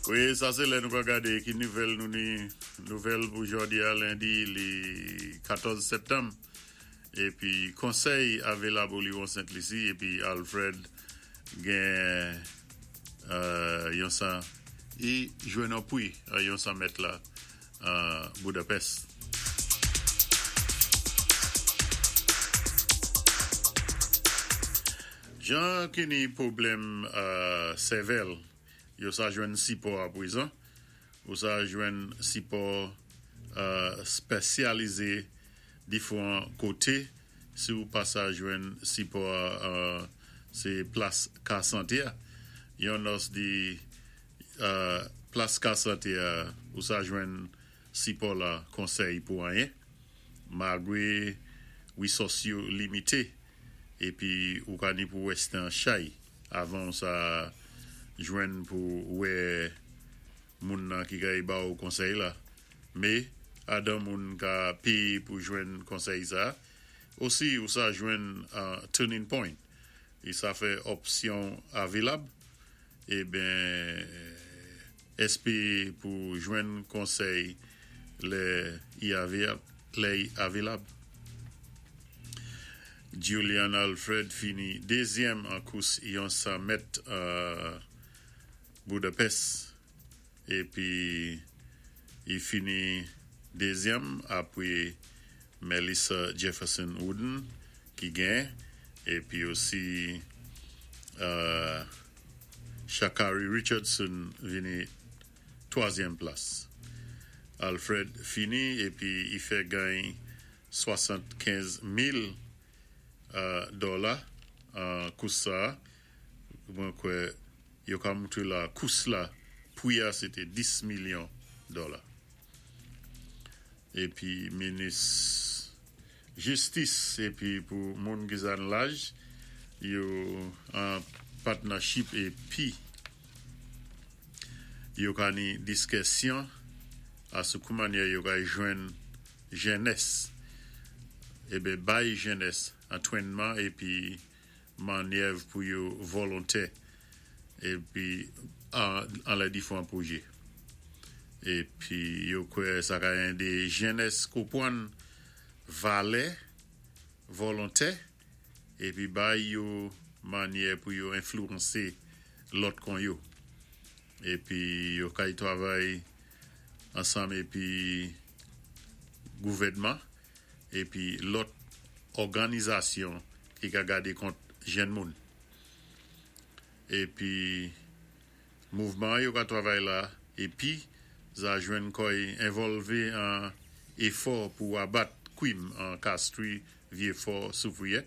Wi, sa sé lè nou ka gadé ki nouvèl nou ni, nouvèl pou jòdi-a, lendi li 14 sèptanm. Épi konsèy avilab Oliwon Sent Lisi épi Alfred gen yon 100 i jwenn yon pri yon 100 mèt la Budapest. Jan ki ni pwoblèm sèvèl yo sa jwenn sipò apwezan, ou sa jwenn sipò spèsyalize difwan koté, si ou pa sa jwenn sipò a sé plas ka santé a. Yon nòs di plas ka santé a ou sa jwenn sipò la konsèy pou anyen, malgwé wisòs yo limité épi ou ka ni pou wèste an chay avan ou sa jwenn pou wè moun nan ki kay ba ou konsèy la. Mé adan moun ka péyé pou jwenn konsèy sa, osi ou sa jwenn Turning Point i sa fè òpsyon avilab eben èspéyé pou jwenn konsèy lè i avilab. Julian Alfred fini dézyèm an kous yon 100 mèt Budapest épi i fini dézyèm apwé Melissa Jefferson Wooden ki gen épi osi Sha'Carri Richardson vini twazyèm plas. Alfred fini épi i fè gagn 75 mil dòla an kous sa, mwen kwè yo ka moutré la kous la pwi a sé té 10 milyon dòla. Épi minis jistis épi pou moun ki sa n laj yo an patnachip épi yo ka ni diskèsyon asou kou manyè yo kay jwenn jènès eben bay jènès antwènman épi manyèv pou yo volontè épi an lè difwan pwojé. Épi yo kwè sa ka édé jènès konpwann valè volontè épi bay yo manyè pou yo enflouwansé lòt kon yo. Épi yo kay twavay ansanm épi gouvèdman épi lòt òganizasyon ki ka gadé kont jèn moun. Épi mouvman yo ka twavay la épi za jwenn kò'y envòlvé an éfò pou abat kwim an Castries Vieux-Fort Soufrière.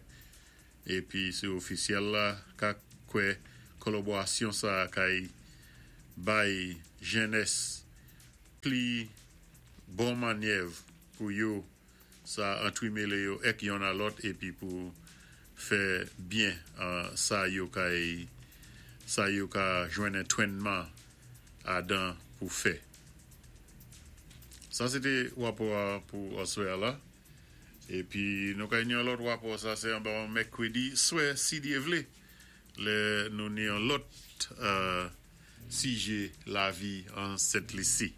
Épi sé ofisyèl la ka kwè kòlòbwasyon sa kay bay jènès pli bon manyèv pou yo sa antwimélé yo èk yonn a lòt épi pou fè byen sa yo kay sa yo ka jwenn entwènman adan pou fè. Sa sé té wapò a pou aswè a la. Épi nou kay ni yon lòt wapò, sa sé anba yon mèkwédi swè si Dyé vlé, lè nou ni yon lòt sijé lavi an Sent Lisi.